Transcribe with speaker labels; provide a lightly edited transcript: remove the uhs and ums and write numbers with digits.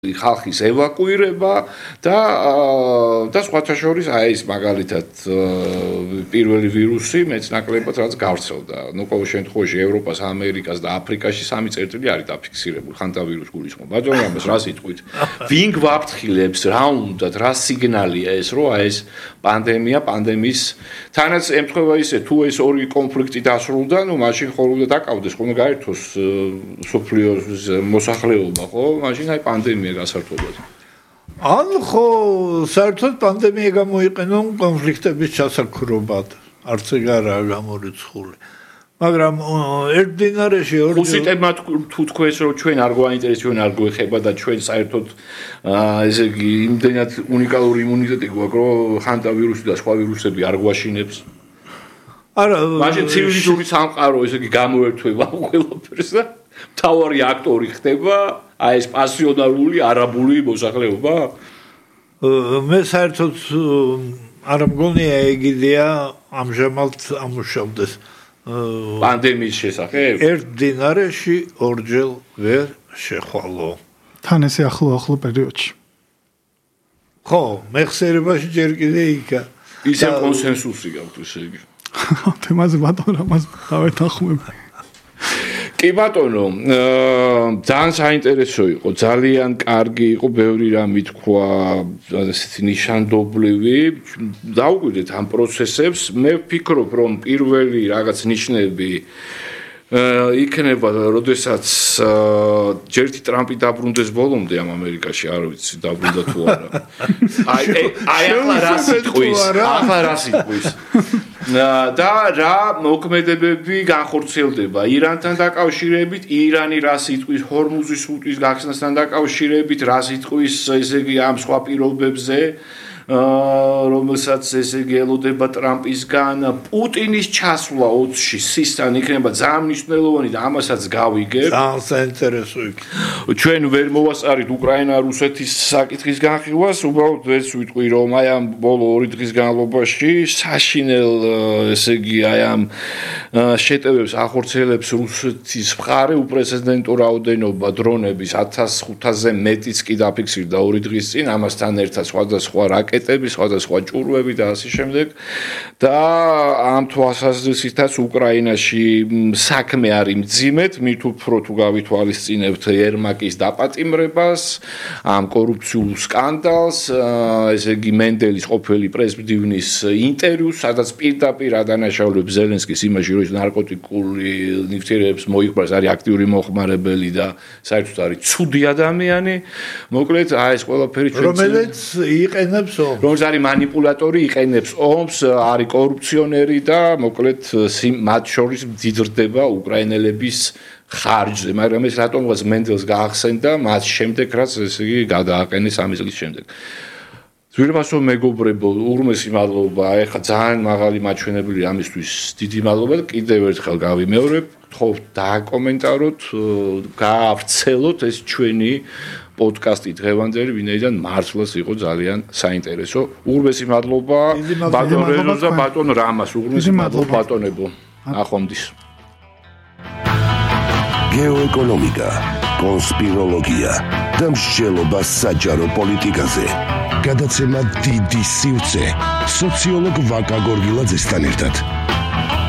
Speaker 1: ხალხის ევაკუირება და სხვათა შორის აი ეს მაგალითად პირველი ვირუსი მეცნაკლებად რაც გავრცელდა. ნუ ყოველ შემთხვევაში ევროპას, ამერიკას და აფრიკაში 3 წერტილი არის დაფიქსირებული ხანტა ვირუსი გულისხმობ. ბატონო ამას რა სიტყვით? ვინ გვაფრთხილებს, რა უნდათ, რა სიგნალია ეს, რომ აი ეს პანდემიის თანაც ემთხვევა ისე თუ ეს ორი კონფლიქტი დასრულდა, ნუ მაშინ ხოლმე დაკავდეს, ხოლმე გაერთოს სოფლიოს მოსახლეობა, ხო? მაშინ აი პანდემია გასართობად.
Speaker 2: ან ხო საერთოდ პანდემია გამოიყენონ კონფლიქტების ჩასაქრობად, არც ეგ არაა გამორიცხული. მაგრამ ერთდინარეში
Speaker 1: ხუსიტებმა თუ თქვენს რომ ჩვენ არ გვაინტერესებს, ჩვენ არ გვეხება და ჩვენ საერთოდ ესე იგი იმდენად უნიკალური იმუნიტეტი გვაქვს, რომ ხანტა ვირუსი და სხვა ვირუსები არ გვაშინებს.
Speaker 2: არა,
Speaker 1: მაშინ ცივილიზური სამყარო ესე იგი გამოერთვება ყველაფერს და მთავარი აქტორი ხდება აი ეს პასიონარული არაბული მოსახლეობა?
Speaker 2: მე საერთოდ არ მგონია ეგ იდეა ამჟამად ამუშავდეს
Speaker 1: პანდემიის შესახებ.
Speaker 2: ერთ დინარეში ორჯერ ვერ შეხვალო.
Speaker 3: თან ესე ახლო პერიოდში.
Speaker 2: ხო, მეხსიერებაში ჯერ კიდე იქა.
Speaker 1: ისე კონსენსუსი გაქვთ ესე იგი.
Speaker 3: თემაზე ბატონო ამას დავეთანხმებ.
Speaker 1: კი ბატონო, ძალიან საინტერესო იყო, ძალიან კარგი იყო, ბევრი რამე თქვა, ასეთი ნიშანდობლივი. დავუკვირდეთ ამ პროცესებს. მე ვფიქრობ, რომ პირველი რაღაც ნიშნები იქნება, როდესაც ჯერთი ტრამპი დაბრუნდეს ბოლომდე ამ ამერიკაში, არ ვიცი, დაბრუნდა თუ არა. აი ახლა რა სიტყვის. და რა მოქმედებები განხორციელდება ირანთან დაკავშირებით, ირანი რა სიტყვის ჰორმუზის სრუტის გახსნასთან დაკავშირებით, რა სიტყვის ესე იგი ამ სხვა პირობებზე, რომელსაც ესე იგი ელოდება ტრამპისგან, პუტინის ჩასვლა 20-ში სისთან იქნება ძალიან მნიშვნელოვანი და ამასაც გავიგებ.
Speaker 2: ძალიან საინტერესო იქნება.
Speaker 1: ჩვენ ვერ მოვასწარით უკრაინა-რუსეთის საკითხის განხილვას, უბრალოდ ეს ვიტყვი, რომ აი ამ ბოლო 2 დღის განმავლობაში საშინელ ესე იგი აი ამ შეტევებს ახორციელებს რუსეთის მხარე, უპრეცედენტო რაოდენობა დრონების 1500-ზე მეტიც კი დაფიქსირდა 2 დღის წინ, ამასთან ერთად სხვადასხვა რაკეტები, სხვადასხვა ჭურვები და ასე შემდეგ. და ამ თვალსაზრისითაც უკრაინაში საქმე არის მძიმედ, მით უფრო თუ გავითვალისწინებთ ერმაკის დაპატიმრებას, ამ კორუფციულ სკანდალს, ესე იგი მენდელის ყოფილი პრეზიდენტის ინტერვიუს, სადაც პირდაპირ ადანაშაულებს ზელენსკის იმაში, რომ ნარკოტიკული ნივთიერებებს მოიხმარს, არის აქტიური მოხმარებელი და საერთოდ არის ცუდი ადამიანი. მოკლედ, აი ეს ყველაფერი ჩვენ
Speaker 2: რომელიც იყენებს ომს.
Speaker 1: რომელიც არის მანიპულატორი, იყენებს ომს, არის კორუფციონერი და მოკლედ მათ შორის მდიდრდება უკრაინელების ხარჯზე, მაგრამ ეს რატომღაც მენდელს გაახსენდა მას შემდეგ, რაც ესე იგი გადააყენეს 3 წლის შემდეგ. ძვირფასო მეგობრებო, უღრმესი მადლობა, ეხლა ძალიან მაღალი მაჩვენებელი ამისთვის დიდი მადლობა და კიდევ ერთხელ გავიმეორებ, გთხოვთ დააკომენტაროთ, გაავრცელოთ ეს ჩვენი პოდკასტი დღევანდელი, ვინაიდან მართლაც იყო ძალიან საინტერესო. უღრმესი მადლობა ბატონ რეზოს და ბატონ რამას, უღრმესი მადლობა ბატონებო. ახლომდის.
Speaker 4: გეოეკონომიკა, კონსპიროლოგია და მსჯელობა საჯარო პოლიტიკაზე. გადაცემა დიდი სივრცე სოციოლოგ ვაკა გორგილაძესთან ერთად.